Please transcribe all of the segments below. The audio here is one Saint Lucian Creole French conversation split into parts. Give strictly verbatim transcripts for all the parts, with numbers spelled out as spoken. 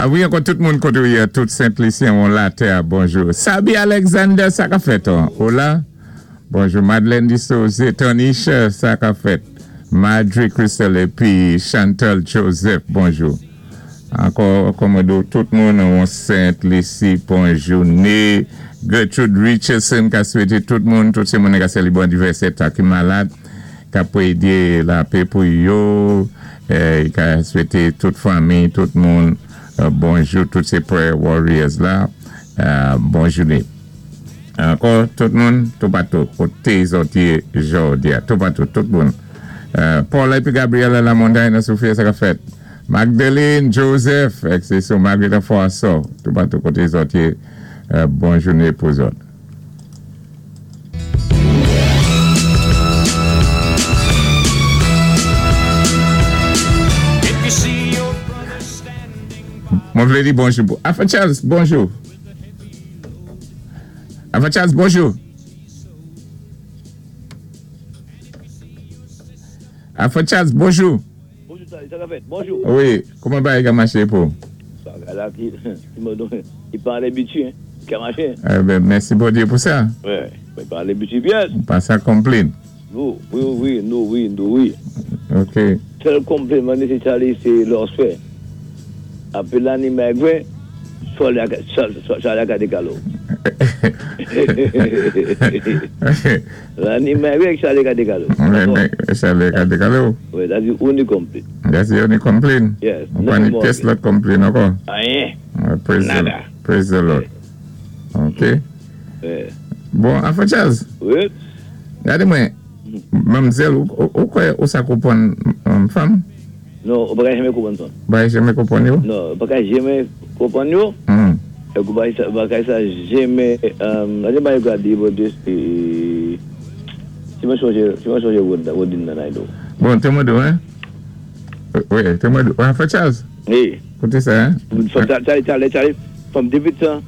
Ah wi, ankò tout moun koté ou yé, tout Sent-Lisyen an latè, bonjou. Sabi Alexander, sa ka fèt, an? Hola. Bonjou Madeleine Dissose, Tonisha, sa ka fèt. Madri Crystal épi Chantal Joseph, bonjou. Ankò, kòmado tout moun an Sent-Lisi, bonjou. Né Gertrude Richardson, ka swété tout moun, tout sé moun ka sélébwé anivèsè ta ki malad, ka pwédé lapè pou yo, eh, ka swété tout fanmi, tout moun, euh, bonjou, tout sé prayer warriors la, euh, bon jouné. Ankò, tout moun, toupatou, koté zòt yé jòdi a, toupatou, tout moun. Euh, Paul épi Gabriela Lamontagne nan Sophia, sa ka fèt. Magdalene Joseph, ek sé sou Margaret François, toupatou koté zòt yé, euh, bon jouné pou zòt. If you see your brother standing Mwen vlé di bonjou. pou- Alpha Charles, bonjou. Alpha Charles, bonjou. Alpha Charles, bonjou. Bonjou, sa, sa ka fèt. Bonjou. Wi, kouman bagay ka maché pou? Bagay la ki, ki m'a donné, i pa lébitu, hein. Ki a maché. Eh ben, mèsi Bondyé pou sa. Ouais, i pa lébitu pyès. Pa sa konplenn. Nou, wi, wi, nou, wi, nou, wi. OK. Sèl konplenn sé Charlie, sé lòswè. Apwé lanni mègwé, Charlie a Charlie a ka dékalé. Lanni mègwé, Charlie ka dékalé. Ouais, mais Charlie ka dékalé. Ouais, that's the only complaint. That's the only complaint. Yes. On pa ni Nothing more. pyès lòt konplenn ankò. Anyen. Uh, praise the, Nada. praise the Lord. OK. Ouais. Bon, Alpha Charles, Wi. gadé mwen, manmzèl, ou, ou, ou kwè ou sa konpwann um, fanm? Non, ou pa ka janmé konpwann fanm. Pa janmé konpwann yo? Non, ou pa ka janmé konpwann yo. Hmm. É ou pa pa ka sa janmé um, la pa gwadé about this eh, si mwen chonjé, si mwen chonjé word wording nan I know. Bon, té mwen di, hein? Wi, té mwen di. Alpha Charles, Hey, kouté sa, hein? from Charlie, Charlie, Charlie, from David to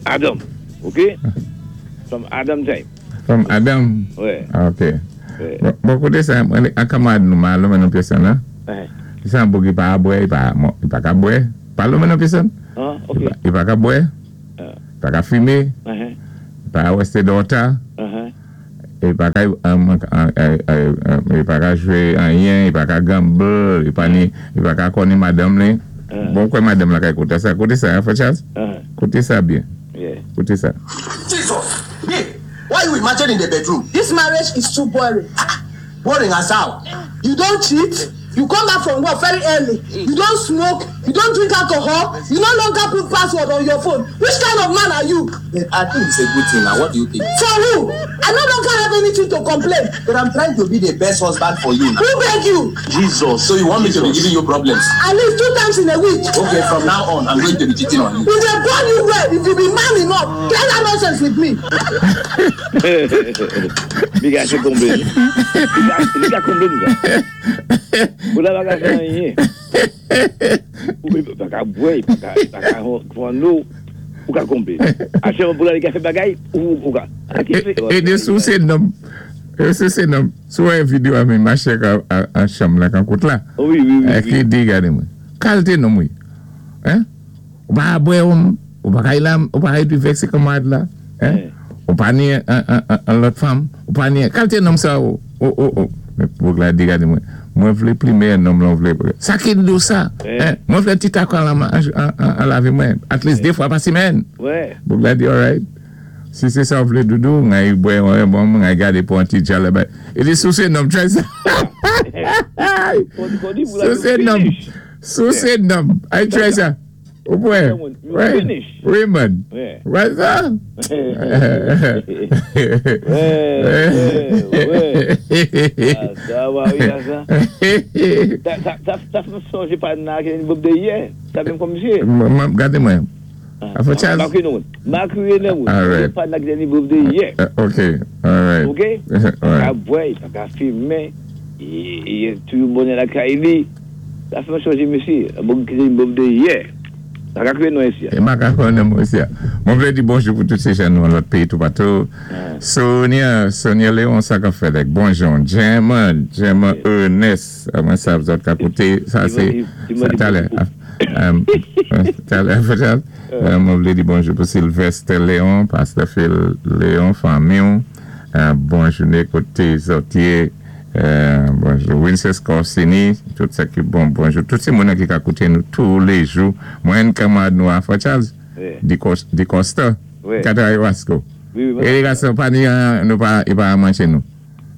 Adam, okay? From Adam time. From Adam. Ouais. Ah, OK. Ouais. Bon, bon kouté sa, mwen an kanmad nou ma lonmen nan pyès la. Ouais. Sa an boug i pa bwè, i pa, i pa ka bwè. Pa lonmen nan pyès Ah, okay. I pa ka bwè, Uh, i pa ka fimé, uh-huh. i pa wèsté dòta, Uh-huh. i pa ka, um, uh, uh, uh, i pa ka jwé anyen, i pa ka gamble, i pa ni, i pa ka konnin madanm li. Uh. Bon, kwè madanm la ka kouté sa. Kouté sa, Alpha Charles? Uh-huh. Kouté sa byen. Yeah. Kouté sa. Jesus! Babe, why you imagine in the bedroom? This marriage is too boring. Boring as how? You don't cheat. You come back from work very early. You don't smoke. You don't drink alcohol. You no longer put password on your phone. Which kind of man are you? But I think it's a good thing now. What do you think? For who? I no longer have anything to complain. But I'm trying to be the best husband for you now. Who beg you? Jesus. So you want me to be giving you problems? At least two times in a week. Okay, from now on, I'm going to be cheating on you. If they born you well, if you be man enough, tell that nonsense with me. Li ka sé konplenn. Li ka, li ka konplenn sa. Ou la pa ka fè anyen. Ou pa ka bwè, pa ka, pa ka pwan nou, ou ka konplenn. A chè pou la li ka fè bagay, ou, ou ka. A ki fè? É, é sou sé nonm, é sou sé nonm, sou wè videyo a men machè ka an chanm la kan kout la. Wi, wi, wi. É ki di gade mwen. Kalté nonm wi. Hein? Ou pa bwè ou, ou pa kay la, ou pa kay pi vèksé kanmad la. Hein? Ou pa ni an, an, an, an lòt fanm, ou pa ni kalté nonm sa ou, ou, ou, ou. Men boug la di gade mwen, mwen vlé plimen nonm lan vlé. Sa ki di sa? Eh. Hein? Mwen vlé ti takon an, an, an, an lavi mwen, at least dé fwa pa simèn. Ouais. Boug la di, alright. Si sé sa ou vlé doudou, ngay bwè, wè, bon, ngay gade pou an ti djale bay. É di sou sé nonm, try sa. Sou sé nonm, sou sé nonm, ay try sa. Ou bwè? You Wè? finish. Wi man. Ouais. Wè sa? Ouais, ouais, ouais. Ah, sa va, wi, sa. Sa, sa, sa, sa fè sonjé pa nan ki bob de yè. Sa menm kòm msye. M- Gade mwen. Alpha Charles. Makwe nou. Makwe nou. Alright. Pa nan ki bob de yè. Uh, Ok, alright. Ok? Pa ka Alright. bwè, pa ka fimen, i toujou bonè lakay li. Sa fè sonjé msye. Bon ki bob de yè. Pa ka kwè nou isi. É ma ka konnen mwen osi. Mwen vlé di bonjou pou tout sé jan nou an lòt péyi toupatou. Sonia, Sonia Léon sa ka fè dèk. Bonjou. Gemma, Gemma Ernest. Mwen sav zòt ka kouté. Sa sé, sa talè. Um, talè, peut-être. Euh, mwen vlé di bonjou pou Sylvester Léon, Pasteur Phil Léon, fanmi. Euh, bonjouné koté zòt yé. Euh, bonjou Winces Corsini, tout sa ki bon, bonjou. Tout sé moun ki ka kouté nou tou lé jou. Mwen kanmarad nou a Fort Charles, Wi. Di Cos- Di Costa, Wi. ka travay Wasco. Wi, wi. É gason pa ni nou pa, i pa manché nou.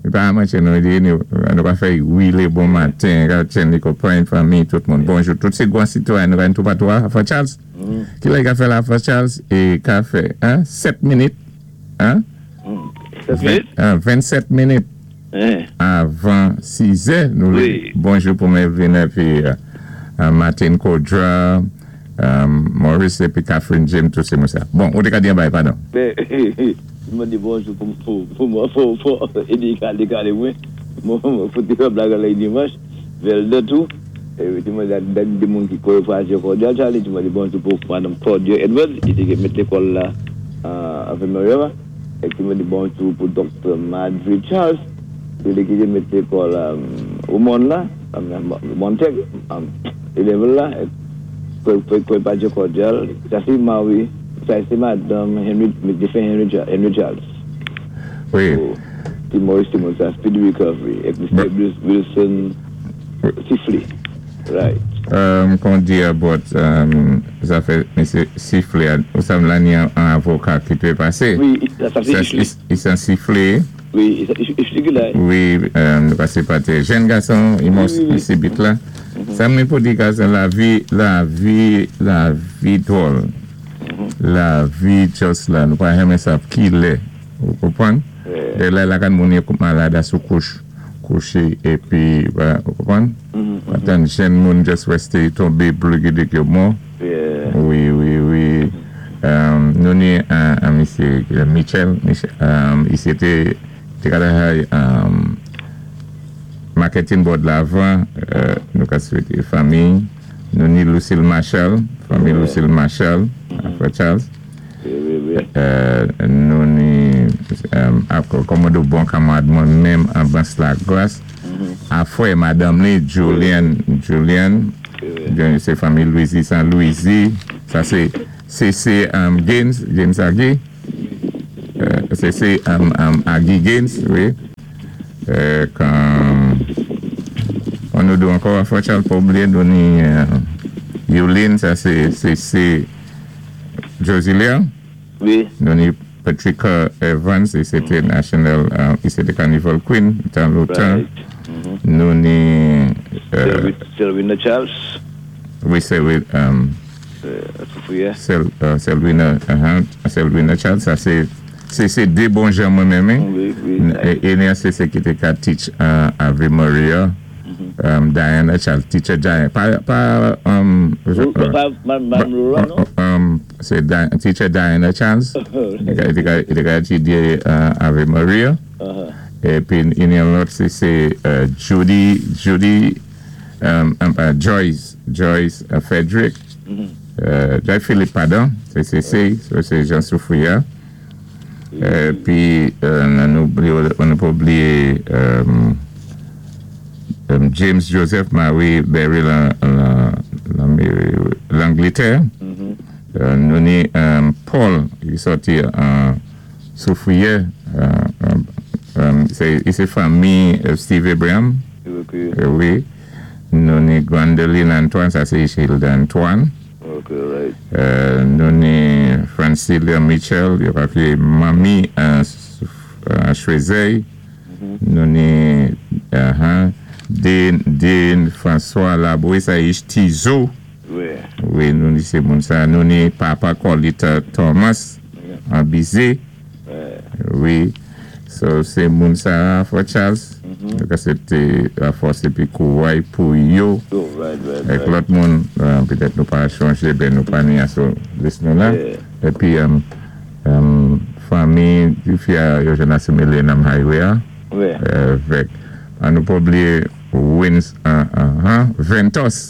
I pa manché nou, i di nou, nou pa fè wi lé bon maten, Chen Copain, fanmi, tout moun. Bonjou, tout sé gwan sitwayen nou gen tou patou a Fort Charles. Ki lè ka fè la Fort Charles? É ka fè, hein, sèt minit, hein? Sèt minit? Hein, vennsèt minit Hein. avan sis è. Nou Wi. Bonjou pou Melvin épi euh, euh, Martin Kodra, euh, Maurice épi Catherine James, tout sé moun sa. Bon, ou té ka di yon bay, padon. Ben, mwen di bonjou pou, pou, pou mwen, pou, pou, édi kalé kalé mwen. Mwen, mwen foute yon blag la dimanch, Velde tou. É mwen di dé moun ki konnen Fraser Cordial, Charlie, mwen di bonjou pou Madame Claudia Edwards, ki té mèt lékòl la, euh, Ave Maria. Épi mwen di bonjou pou Doktè Madrid Charles, ki ki té mèt lékòl euh, au monde la, Montec, élèv la, é Padre Cordial, sa sé Marie, sa sé Madame Henry, défen Henry, Henry Charles. Wi. So, Maurice Simon, sa speedy recovery. É Mister Wilson Sifley. Right. Um, kon di about um, zafè Misye Sifley, ou sa la ni an avoka ki té pasé. Wi, sa, sa sé Sa, i san Sifley. Wi, i la. Wi, um, nou pasé pa té jenn gason, i mò Wi, wi, wi. sibit la. Sa mwen pou di gason, lavi, lavi, lavi dwòl. Lavi just la, nou pa renmen sav ki lè. Ou konpwann? Yeah. Dé lè la kan moun yo malad sou kouch, kouché, épi, ba, ou konpwann? Atan jenn moun just resté tonbé blougi yo mò. Yeah. Wi, wi, wi. Um, nou ni an, an misye Michel, Michel um, i té té ka um, marketing board la avan, euh, nou ka swété fanmi. Nou ni Lucille Marshall, fanmi Lucille Marshall, a Charles. Wi, wi, wi. Euh, nou ni um, ak kòmòdo bon kanmarad mwen menm an Bans la Glas. A fwè madanm ni Julian, Julian, Julian, sé fanmi Louisi San Louisi. Sa sé C C um, Gaines, James Agui. Euh, C C um, um, Agui Gaines, wi. Euh, kan on nou do ankò a Fort Charles pa oubliyé nou ni euh, Yulin, sa sé C C Josilia. Wi. Nou ni Patricia Evans, é sé té National, euh, i sé té Carnival Queen, dan lontan. Right. Nou ni, euh, Selvina Charles. Wi, sé wi, um, Euh, Soufrière. Sel, euh, Selvina, uh-huh, Selvina Charles, sa sé, sé, sé dé bon jan mwen menm. Wi, wi. É, é ni sé sé ki té ka teach uh, Ave Maria, um, Diana Charles, teacher Diana, pa, pa, um, Pa, Madame Laura, non? um, sé Di teacher Diana Charles, i té ka, i té ka étudyé uh, Ave Maria. Uh-huh. Épi, i ni yon lòt, sé, sé uh, Judy, Judy, um, um, uh, Joyce, Joyce uh, Frederick, euh, Joyce Philippe, padon, sé sé sé, sé Jean Soufrière. Épi, euh, nou oubliyé, on pa oubliyé um, um, James Joseph Marie Berry lan, lan, lan, Langlétè. Euh, nou ni um, Paul, ki sòti an Soufrière, euh, um, sé sé fanmi euh, Steve Abraham. Ok. Euh, wi. Nou ni Gwendoline Antoine, sa sé Hilda Antoine. Ok, right. Euh, nou ni Francilia Mitchell, yo ka manmi an uh, Choiseul. Nou ni uh, Dean, Dean François Laboué, sa i Tizo. Wi. Wi, nou ni sé moun sa. Nou ni Papa Colita Thomas, an Bizé. Wi. So, sé moun sa, Fort Charles. Donk, sé té la fòs épi kouway pou yo. Oh, right, right, Avec right. lòt moun, euh, petèt nou pa chonjé, ben nou pa ni sou lis nou la. Yeah. Épi, um, um, fanmi di fi a yo jenn asimilé nan highway a. Wi. Euh, avèk, an nou pa oubliyé Wins, uh, uh, uh, Ventos.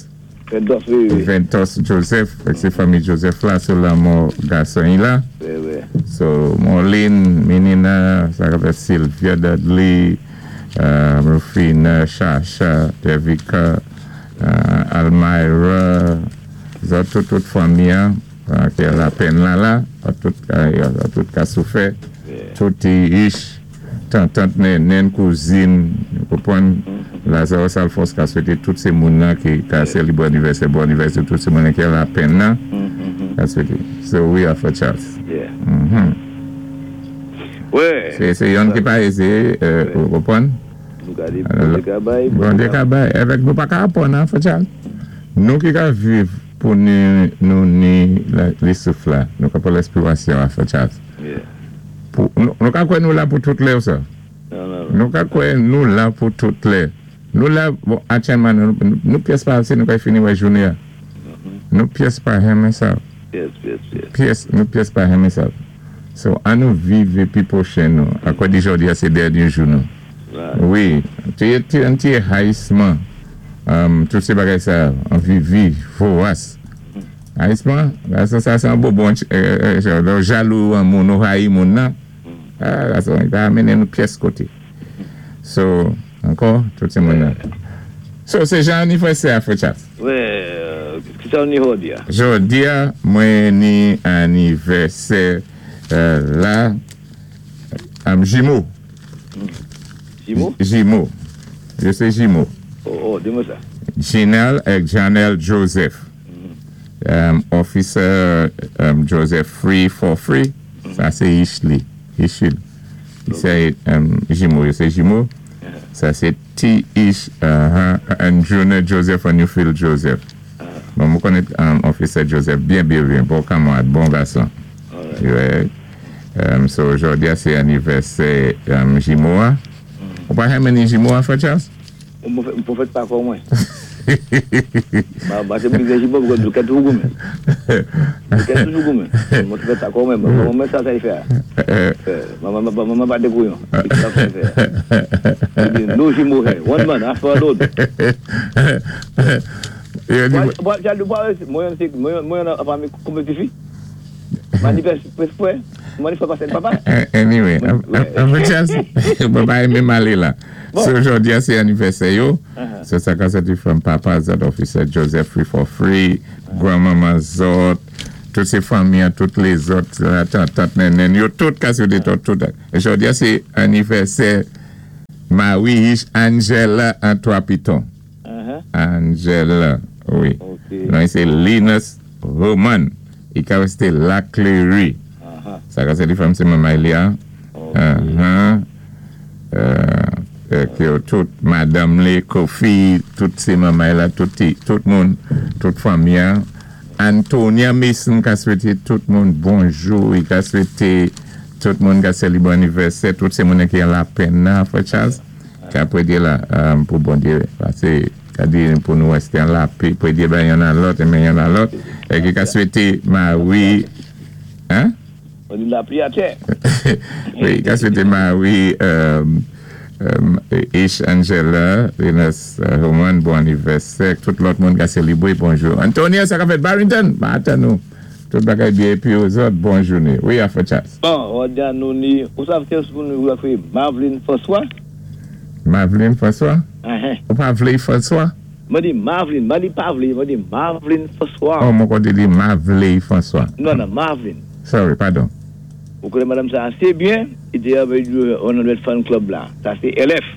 Ventos, wi, wi. Ventos Joseph, avèk sé fanmi Joseph la, sou lanmò gason i la. Wi, wi. So, Marlene, Menina, sa ka Sylvia Dudley, uh, Rufina, Shasha, Devika, uh, Almira, Tout, tout fanmi, ki lapenn la la, tout, tout ka soufè, tout ich, tant, tant, nen, kouzin, konpwann, Lazarus Alphonse ka swété tout sé moun-nan ki ka sélibwé anivèsè, bon anivèsè, tout sé moun-nan ki lapenn nan, ka swété. So we are for Charles. Yeah. Mhm. Ouais. Sé, sé yonn ki pa ézé, euh, ou konpwann? Nou ka di Bondyé ka bay. Bondyé ka bay. Avèk nou pa ka apwann, an, Frè Charles. Nou ki ka viv pou nou, nou ni la, souf la, nou ka pwan lespirasyon, an, Frè Charles. Yeah. Pou, nou, nou ka kwè nou la pou tout lè ou sa? Non, non, non. Nou ka kwè nou la pou tout lè. Nou la, bon, atyèlman, nou, nou, nou pyès pa si nou ka fini wè jouné a. Nou pyès pa renmen sa. Yes, yes, yes. Pyès, nou pyès pa renmen sa. So, an nou viv épi pwochen nou. Akwa di jòdi a sé dènyé jou nou. Right. Wi, ti ti an ti rayisman. Um, tout sé bagay sa, an vi vi, vowas. Rayisman, la, sa, sa, sé an bonbon, euh, euh, jalou an moun, nou rayi moun nan. Ah, la, sa, i pa mennen nou pyès koté. So, ankò, tout sé moun nan. So, sé jan anivèsè a, Frè Charles. Ouais, euh, ki sa ou ni jòdi a? Jòdi a, mwen ni anivèsè euh, la, am jimo. Jimo? Jimo. Yo sé jimo. Oh, oh, di mwen sa. Janelle ak Janelle Joseph. Um, officer um, Joseph Free for Free. Sa sé Ishli. Ishil. Sé um, jimo, yo sé jimo. Sa sé T. Ish uh, and Junior Joseph and Newfield Joseph. Bon, mwen konnen um, Officer Joseph byen, byen, byen. Bon kanmarad, bon gason. Alright. Ouais. Um, so, jòdi a, sé anivèsè um, jimo a. Ou pa renmen ni jimo a, Frè Charles? Mwen fèt pa kon mwen. Ma, ma sé mwen ki jimo, mwen ka toujou goumen. Mwen ka toujou goumen. Mwen fèt pa kon mwen, mwen mwen sa sa y fè. Maman maman pa de kouyon. Sa sa y fè. No jimo here. One man, after another. Yo di- Mwen mwen mwen an fanmi konbyen ti fi? Manifeste frè, manifeste pa sen papa. Eh, Anyway, Frè Charles, mwen pa renmen malé la. Bon. So, jòdi a, sé anivèsè yo. Uh-huh. So, sa ka soti from papa zòt, Officer Joseph Free for Free, grand-maman zòt, tout sé fanmi, tout lézòt, la tant, tant, nen, nen, yo tout ka swété tout, tout. É jòdi a, sé anivèsè Marie Angela Antoine Piton. Uh-huh. Angela, wi. Ok. Non, sé Linus Roman. I ka wé La Cléry. Uh-huh. Sa ka sé di fanm sé manman li a. Ok. Uh-huh. Euh, euh, ki yo tout madame li, Kofi, tout sé manman la, tout, ti- tout moun, tout fanmi an. Antonia Mason ka swété tout moun bonjou, i ka swété tout moun ka sélibwé anivèsè, tout sé moun ki an lapenn nan, Frè Charles, ka pwédyé la, um, pou Bondyé, pasé, ka di pou nou wèsté an lapè, pwédyé ben yon an lòt, men yon an lòt, é ki ka swété Marie, hein? On dit la pluie à terre. Wi, ka swété Marie, um, um, Ish Angela, Linus uh, Roman, bon anivèsè, tout lòt moun ka sélibwé, bonjou. Antonia, sa ka fèt Barrington, ba atan nou. Tout bagay byen, épi ozòt, bon jouné. Wi, Frè Charles. Bon, on dit nou ni, ou sav kès pou nou fè Marveline François? Marveline François? Uh-huh. Ou pa vlé François? Mwen di Marveline, mwen di pa vlé, mwen di Marveline François. Oh, mwen konn di Marvelé François. Non, non, Marveline. Sorry, padon. Ou konnen madame sa asé byen, i té avèk one hundred Fan Club la. Sa sé L F.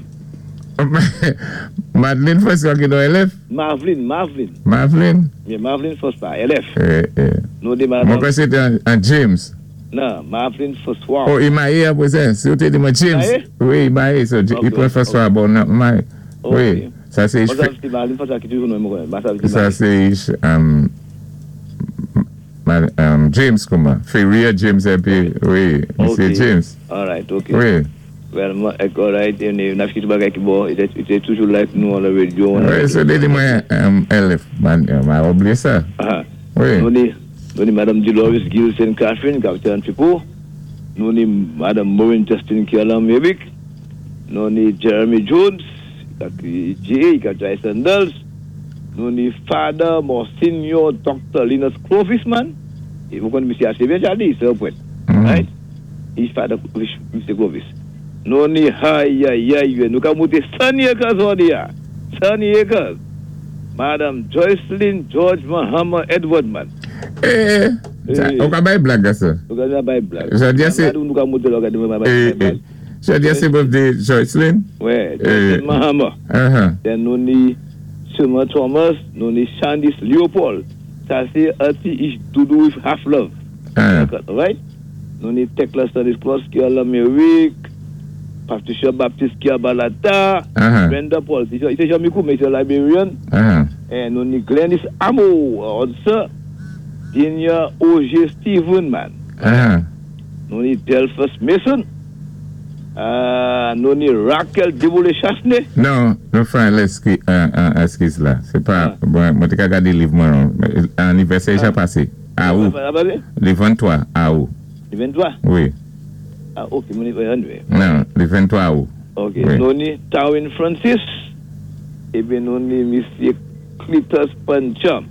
Madeline François ki nan L F? Marveline, Marveline. Marveline? Mais Marveline François, L F. Eh, eh. Nou di Mwen madame. kwè sé té an, an James. Non, Marveline François. Oh, i mayé apwé sa. Si ou té di mwen James. Mayé? Wi, i mayé. So, Ok, i pwan François, bon, nan, mayé. Ok. Wi, sa sé Mwen sav si Marveline François ki toujou nou mwen konnen. Mwen sav si Sa Marveline. sé um, ma- um, James kouman? Ferrier James épi, wi, Misye Ok. James. All right, ok. Wi. Well, mwen, ek, all right, e n'a ki tout bagay ki bon, i té toujou like nou an la radio. Wi, so te di mwen um, L F, man, ma oubliyé sa. Ah. Wi. Nou ni, nou ni Madame Dolores Gilson Catherine, kapitèn Tipo. Nou ni Madame Maureen Justin ki an Amerik. Nou ni Jeremy Jones, ki J, ki Jai Sandals. Nou ni Father Monsignor Doctor Linus Clovis, man. É vous connaissez monsieur assez bien, Charlie, c'est un point. Mhm. Right? He's Father Mister Clovis. Nou ni, ay, ay, ay, nou ka monté Sunny Acres on ya. Sunny Acres. Madam Joycelyn George Mahama Edward, man. Eh, Eh. ou ka bay blag sa? Nou ka bay blag. Jodi a sé- Nou ka monté la, nou ka Eh, bay eh. blag. Jodi a sé birthday Joycelyn? Wè, Eh. Joycelyn Mahama. Uh-huh. Then nou ni Summer Thomas, nou ni Shandis Leopold. Sa sé Auntie Ish Doudou with Half Love. Uh, Right? Nou ni Tekla Stanislas ki an Lamérik, Patricia Baptiste ki an Balata, Uh-huh. Brenda Paul, sé sé Jamikou, mé sé Liberian. uh-huh. É nou ni Glennis Amo, also, Dinia O.J. Steven, man. Uh-huh. Nou ni Delphus Mason. Euh, nou ni Raquel Deboulé Chasney. Non, nou fè an eski, an, an eskiz la. Sé pa, bon, mwen té ka gadé liv mwen non. Anivèsè ja pasé. Awou. Lé venntwa, awou. Lé venntwa? Wi. Ah, ok, mwen anyway. Non, lé venntwa awou. Ok, Wi. nou ni Tawin Francis, épi nou ni Misyé Cletus Pancham.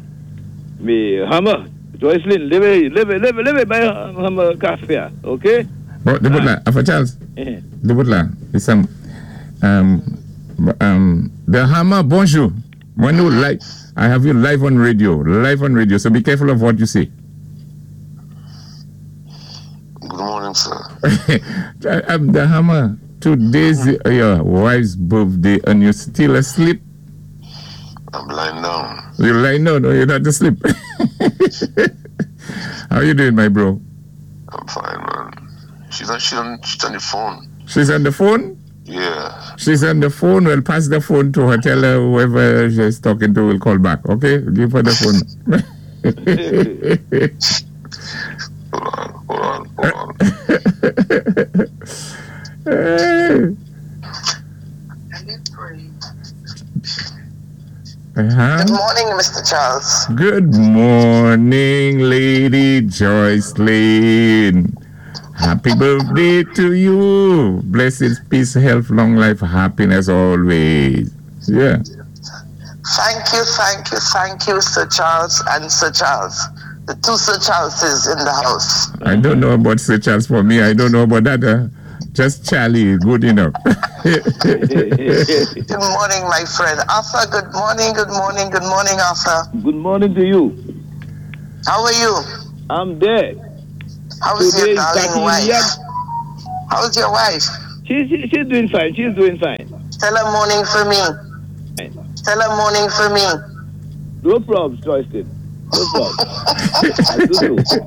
Mé Hammer, Joycelyn, lévé, lévé, lévé, lévé, bay Hammer kafé, ok? Bon, débout la, Alpha Charles. Eh. Débout la. Listen, um, um, the Hammer, bonjou. When you live, I have you live on radio, live on radio. So be careful of what you say. Good morning, sir. um, the Hammer, today's your wife's birthday and you're still asleep. I'm lying down. You're lying down, no, you're not asleep. How you doing, my bro? I'm fine, man. She's on, she's on, she's on the phone. She's on the phone? Yeah. She's on the phone. We'll pass the phone to her. Tell her whoever she's talking to will call back. Okay? Give her the phone. Hold on, hold on, hold on. Hey. Uh-huh. Good morning, Mr. Charles. Good morning, Lady Joycelyn. Happy birthday to you. Blessings, peace, health, long life, happiness always. Yeah. Thank you, thank you, thank you, Sir Charles and Sir Charles. The two Sir Charleses in the house. I don't know about Sir Charles for me. I don't know about that. uh, just Charlie, good enough. Good morning, my friend. Arthur, good morning, good morning, good morning, Arthur. Good morning to you. How are you? I'm there. How's Today your is darling thirty wife? years. How's your wife? She, she, she's doing fine. She's doing fine. Tell her morning for me. Tell her morning for me. No problems, Joycelyn. No problem. I do so.